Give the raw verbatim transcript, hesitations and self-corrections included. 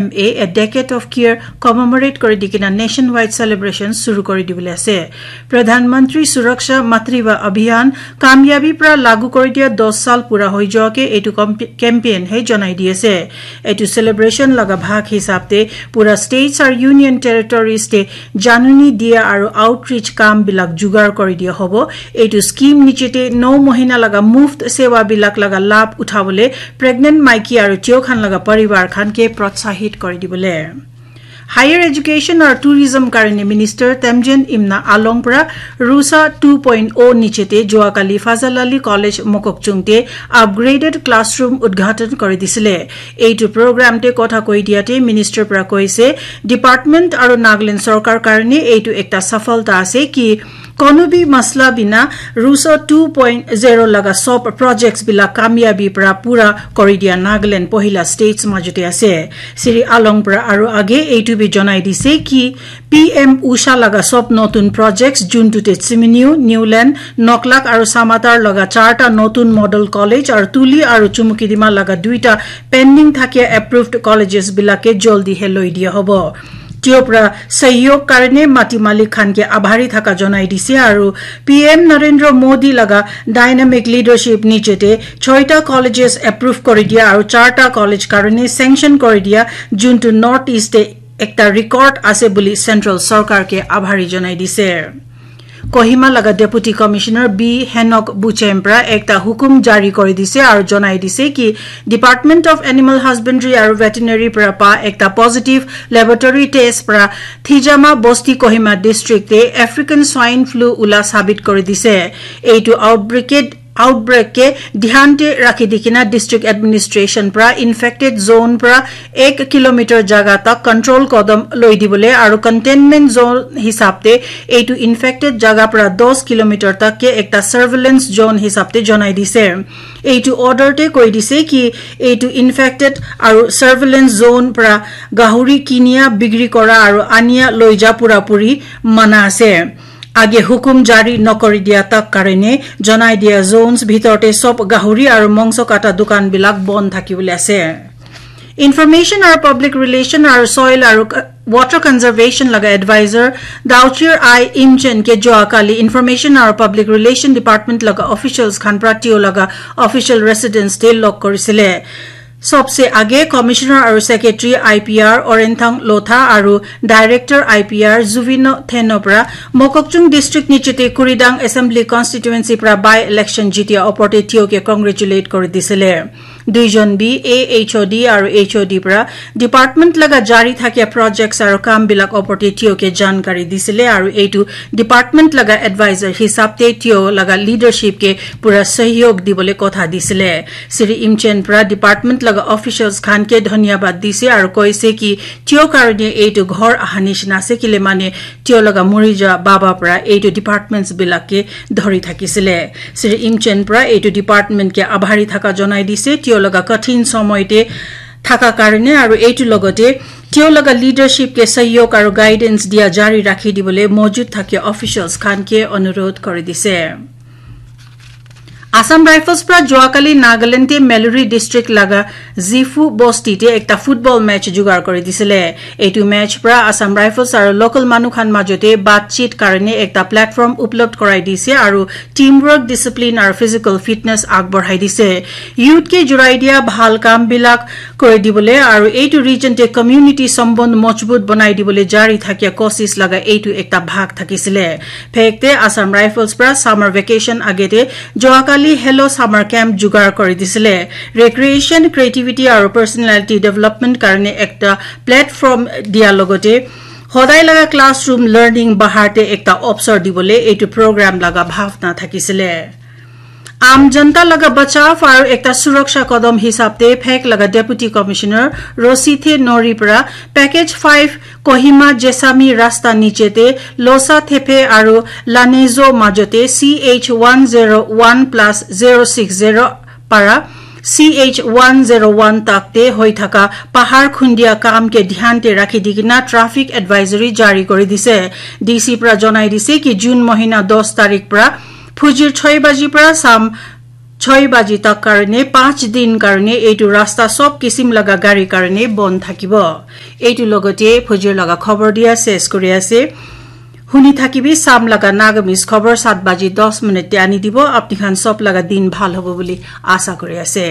M A, A Decade of Care commemorate kori di kena nationwide celebration suru kori dibole ase. Pradhan Mantri Suraksha Matriva Abhiyan kamyabi pra lagu kori dia dos sal pura hoi joa ke etu comp-, campaign he janai di ase. Etu celebration laga bhag hisab te pura states aru union territories te januni dia aru outreach kam bilak jugar kori dia hobo. Etu scheme niche te no mohina laga muft sewa bilak laga labh uthabole pregnant maiki aru tio khan laga parivar khan ke protsahit kori dibole. Higher Education aru Tourism karone Minister Temjen Imna Along pra Rusa two point oh niche te joa kali Fazal Ali College Mokokchung te upgraded classroom udghatan kori disile. Eitu program te kotha koi dia te minister pra koise, department aru Nagaland sorkar karone eitu ekta safalta ase ki kono bi masla bina Rusa two point zero laga sob projects bila kamyabi pra pura kori dia Nagaland pohila states majote ase. Sri Along pra aru age eitu bi janai dise ki P M Usha laga sob notun projects juntu te Tsiminiu, Newland, Noklak aru Samatar laga charta notun model college aru Tuli aru Chumukidima laga duita pending thakia approved colleges bilake joldi he loi dia hobo. Tio pra sahiyog karone mati malik khan ke abhari thaka janai dise aru P M Narendra Modi laga dynamic leadership niche te choita colleges approve kori dia aru charta college karone sanction kori dia juntu North East te ekta record ase buli central sorkar ke abhari janai dise. Kohima laga Deputy Commissioner B Henok Buchem pra ekta hukum jari kori dise aru janai dise ki Department of Animal Husbandry aru Veterinary pra pa ekta positive laboratory test pra Thijama Bosti Kohima district te African swine flu ula sabit kori dise. Eitu outbreak ke outbreak ke dhyan te rakhi di kena district administration pra infected zone pra ek kilometer jaga tak control kodam loi dibole aru containment zone hisab te eitu infected jaga pra dos kilometer tak ke ekta surveillance zone hisab te janai dise. Eitu order te koi dise ki eitu infected aru surveillance zone pra gahuri kinia bigri kora aru ania loi ja pura puri mana ase. Age hukum jari nokori dia tak karone janai dia zones bhitor te sob gahuri aru mongso kata dukan bilak bon thaki bole ase. Information aru Public Relation aru Soil aru Water Conservation laga advisor Dauchir I Imchen ke joa kali Information aru Public Relation Department laga officials khan pra tio laga official residence te log korisile. Sobse age Commissioner aru Secretary I P R Orenthang Lotha aru Director I P R Zuvino Thenopra Mokokchung District nichete Kuridang Assembly Constituency pra by election jitia oporte tio ke congratulate kori disile. Duijon bi A H O D aru H O D pra department laga jari thakia projects aru kam bilak oporte tio ke jankari disile aru eitu department laga advisor hisab te tio laga leadership ke pura sahiyog dibole kotha disile. Sri Imchen pra department laga officials khan ke dhanyabad dise aru koise ki tio karone eitu ghor aha nishina ase kile mane tio laga muri ja baba pra eitu departments bilak ke dhori thakisile. Sri Imchen pra eitu department ke abhari thaka janai dise tio laga kathin somoy te thaka karone aru eitu logote tio laga leadership ke sahiyog aru guidance dia jari rakhi dibole mojud thakia officials khan ke anurodh kori dise. Assam Rifles pra joakali Nagaland te Meluri district laga Zifu bosti te ekta football match jugar kori disile. Eitu match pra Assam Rifles aru local manu khan majote batchit karone ekta platform uplobdh korai dise aru teamwork, discipline aru physical fitness agbarhai dise. Youth ke jurai dia bhal kam bilak kori dibole aru eitu region te community sambandh mojbut banai dibole jari thakia kosis laga eitu ekta bhag thakisile. Phek te Assam Rifles pra summer vacation agete joakali Hello Summer Camp jugar kori disile. Recreation, creativity aru personality development karone ekta platform dia logote hodai laga classroom learning bahar te ekta opsor dibole eitu program laga bhavna thakisile. Aam janta laga bachav aru ekta suraksha kadam hisab te phek laga Deputy Commissioner Rosithe Nori pra Package five Kohima Jesami rasta niche te Losa Thepe aru Lanezo majote C H one zero one plus zero six zero para C H one zero one tak te hoi thaka pahar khundia kam ke dhyan te rakhi di kena traffic advisory jari kori dise. D C pra janai dise ki June mohina dos tarik pra phujir choi baji pra sam choi baji tak karne panch din karne eitu rasta sob kisim laga gari karne bon thakibo. Eitu logote phujir laga khobor dia ses kuri ase. Huni thakibi sam laga Nagamese khobor sat baji dos minute te ani dibo. Apni khan sob laga din bhal hobo buli asa kuri ase.